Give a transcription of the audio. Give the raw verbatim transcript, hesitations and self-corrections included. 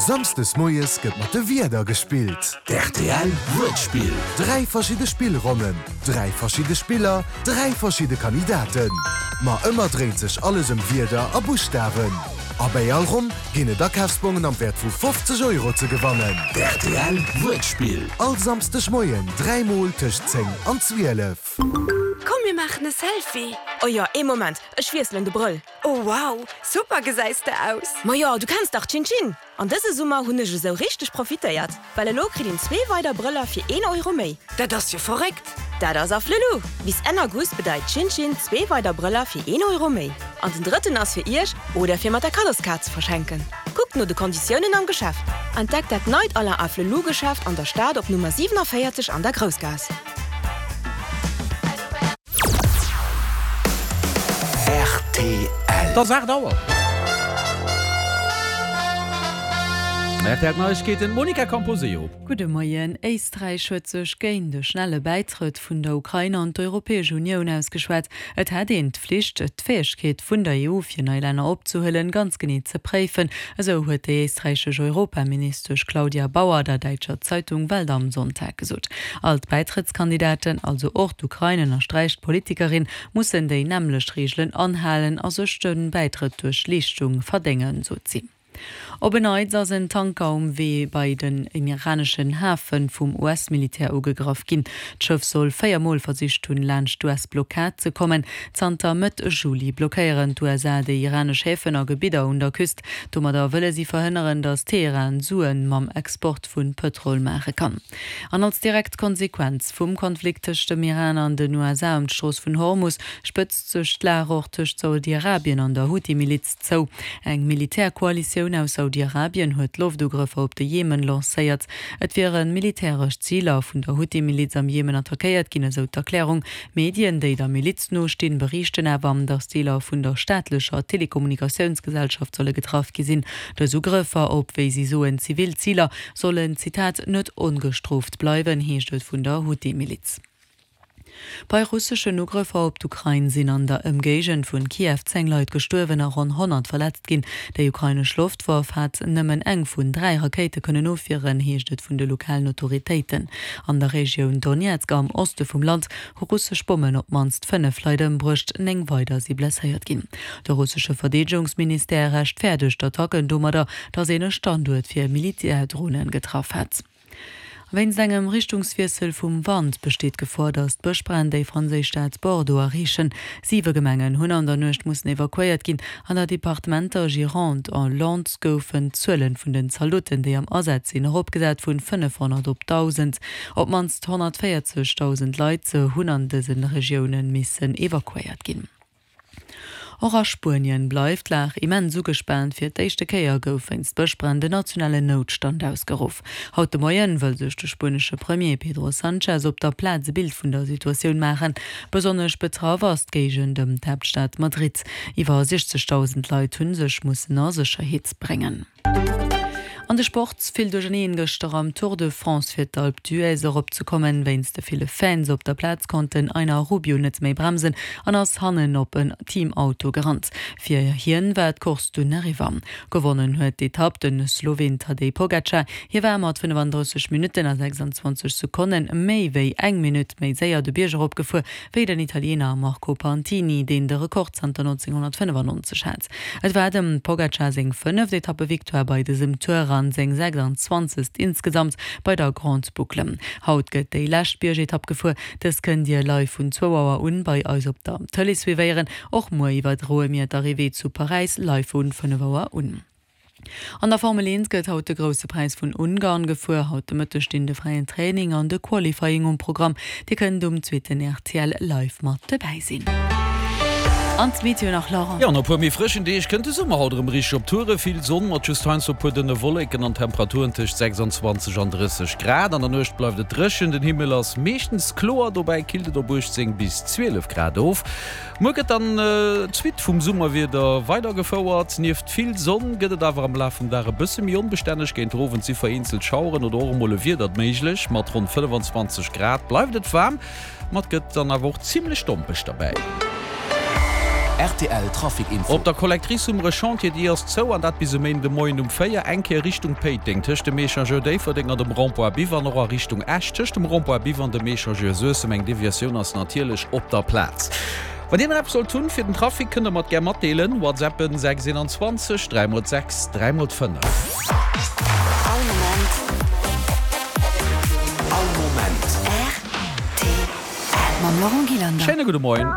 Samsdes moies gëtt mat de Wierder gespillt. D'RTL Wuertspill. Dräi verschidde Spillronnen, dräi verschidde Spiller, dräi verschidde Kandidaten. Ma ëmmer dréint sech alles ëm Wierder a Buschtawen. A bei all Ronn ginn et Akafsbongen am Wäert vu fofzeg Euro ze gewannen. D'RTL Wuertspill. All Samsdeg Moien dräi Mol tëscht zéng an zwielef. Komm mir maachen e Selfie! Oh jo, ee Moment, ech wiesselen de Brëll. Oh wow, super gesäis de aus! Ma jo, du kenns dach Chin Chin! An dëse Summer hunn ech esou richteg profitéiert, well elo kritt een zwee weider Brëller fir een Euro méi. Dat ass jo verréckt! Dat ass Afflelou! Bis Enn August bedeit Chin Chin zwee weider Brëller fir een Euro méi. An den drëtten ass fir iech oder fir mat der Kaddoskaart ze verschenken. Kuckt no de Konditiounen am Geschäft. Entdeckt dat neit Alain Afflelou Geschäft an der Stad op Nummer siewenundvierzig an der Groussgaass. R T L. Et ass aacht Auer. R T L Neiegkeeten, Monica Camposeo. Gudde Moien. Éisträich huet sech géint de schnelle Bäitrëtt vun der Ukrain an d'Europäesch Unioun ausgeschwat. Et hätt een d'Flicht, d'Fäegkeet vun der E U fir nei Länner opzehuelen, ganz genee ze préifen. Esou huet déi éisträichesch Europaministesch Claudia Bauer der däitscher Zeitung Welt am Sonntag gesot. All d'Bäitrëttskandidaten, also och d'Ukrain, ënnersträicht d'Politikerin, mussen déi nämmlecht Reegelen anhalen a sech de Bäitrëtt duerch Leeschtung verdéngen, sot si. Op en Neits ass en Tanker um Wee bei den iraneschen Hafe vum U S-Militär ugegraff ginn. D'Schëff soll véier Mol versicht hunn, laanscht d'U S-Blockad ze kommen. Zanter Mëtt Juli blockéieren d'U S A déi iranesch Häfen a Gebidder un der Küst. Domadder wëlle si verhënneren, datt Teheran Suen mam Export vu Pëtrol maache kann. An als direkt Konsequenz vum Konflikt tëscht dem Iran an den U S A ëm d'Strooss vun Hormus spëtzt sech d'Lag och tëscht Saudi-Arabien an der Huthi-Miliz zou. Eng Militärkoalitioun aus Saudi-Arabien huet Loftugrëffer op de Jemen lancéiert. Et wiere militäresch Ziler vun der Huthi-Miliz am Jemen attackéiert ginn, esou d'Erklärung. Medien, déi der Miliz nostinn, berichten awer, datt Deeler vun der staatlecher Telekommunikatiounsgesellschaft solle getraff gi sinn. Dës Ugrëffer op, wéi si soen, zivil Ziler sollen, Zitat, net ongestrooft bleiwen, heescht et vun der Huthi-Miliz. Bei russeschen Ugrëffer op d'Ukrain sinn an der Ëmgéigend vun Kiew zéng Leit gestuerwen a ronn honnert verletzt ginn. Déi ukrainesch Loftwaff hat nëmmen eng vun dräi Rakéite kënnen ofwieren, heescht et vun de lokalen Autoritéiten. An der Regioun Donezk am Oste vum Land hu russesch Bommen op d'mannst fënnef Leit ëmbruecht, néng weider si blesséiert ginn. De russesche Verdeedegungsministère rechtfäerdegt d'Attacken domadder, datt een e Standuert fir Militärdronen getraff hätt. Wéinst engem Richtungswiessel vum Wand besteet d'Gefor, datt d'Bëschbränn déi franséisch Stad Bordeaux erreechen. Siwe Gemengen hunn an der Nuecht mussen evakuéiert ginn. An der Departementer Gironde a Landes goufen d'Zuele vun den Zaldoten, déi am Asaz sinn, eropgesat vun fënnefhonnert op dausend. Op d'mannst honnertvéierzegdausend Leit hunn an dëse Regioune missen evakuéiert ginn. Och a Spuenien bleift d'Lag immens ugespaant. Fir d'éischte Kéier gouf wéinst Bëschbränn den nationalen Noutstand ausgeruff. Haut de Moien wëll sech de spuenesche Premier Pedro Sanchez op der Plaz e Bild vun der Situatioun maachen. Besonnesch betraff ass d'Géigend ëm d'Haaptstad Madrid. Iwwer siechzegdausend Leit hu sech mussen a Sécherheet bréngen. An de Sport, Vill Duercherneen gëschter am Tour de France fir d'Alpe d'Huez erop ze kommen. Wéinst de ville Fans op der Plaz konnt den Einer Rubio net méi bremsen an ass hannen op en Teamauto gerannt. Fir hien war d'Course dunn eriwwer. Gewonnen huet d'Etapp de Sloween Tadej Pogacar. Hie war mat fënnefandrësseg Minutten a sechsanzwanzeg Sekonne méi wéi eng Minutt méi séier de Bierg eropgefuer wéi den Italiener Marco Pantani, deen de Rekord zanter nonzénghonnertfënnefannonzeg hat. Et war dem Pogacar seng fënneft Etappevictoire bei dësem Tour an seng sechsanzwanzegst insgesamt bei der Grande Boucle. Haut gëtt déi lescht Biergetapp gefuer. Dës kënnt Dir live vun zwou Auer un bei eis op der Tëlee suivéieren. Och muer iwwerdroe mir d'Arrivée zu Paräis live vun fënnef Auer un. An der Formel eent gëtt haut de Grousse Präis vun Ungarn gefuer. Haut de Mëtteg stinn de fräien Training an de Qualifying um Programm. Dir kënnt um zweeten R T L live mat dobäi sinn. An d'Meteo nach, Laurent. Jo, no e puer méi frëschen Deeg kënnt de Summer haut erëm richteg op Toure. Vill Sonn mat just heiansdo e puer dënne Wolleken an Temperaturen tëscht sechsanzwanzeg an drësseg Grad. An der Nuecht bleift et dréchen, den Himmel ass meeschtens kloer, dobäi killt et op uechtzéng bis zwielef Grad of. Muer gëtt dann d'Suite vum Summerwieder weidergefouert. Nieft vill Sonn gëtt et awer am Laf vum Dag e bësse méi onbestänneg. Géint den Owend si vereenzelt Schaueren oder och emol e Wiedert méiglech. Mat ronn fënnefanzwanzeg Grad bleift et waarm, ma et gëtt dann awer och zimmlech dompeg derbäi. Rtl Trafic Info. Op der Collectrice um Rechantier, déi ass zou an dat bis e Méinde Moien um véier. Eng Kéier Richtung Péiteng tëscht dem Echangeur Déifferdeng an dem Rond-point Biwer an och a Richtung Esch tëscht dem Rond-point Biwer an dem Echangeur Suessem. Eng Deviatioun ass natierlech op der Plaz. Wann Dir nach eppes sollt hunn fir den Trafic, kënnt Der mer et gär matdeelen. Whatsappen sechs einundzwanzeg dräi mol sechs dräi mol fënnef. All Moment. All Moment. Rtl. Mam Laurent Gillander. Schéine gudde Moien.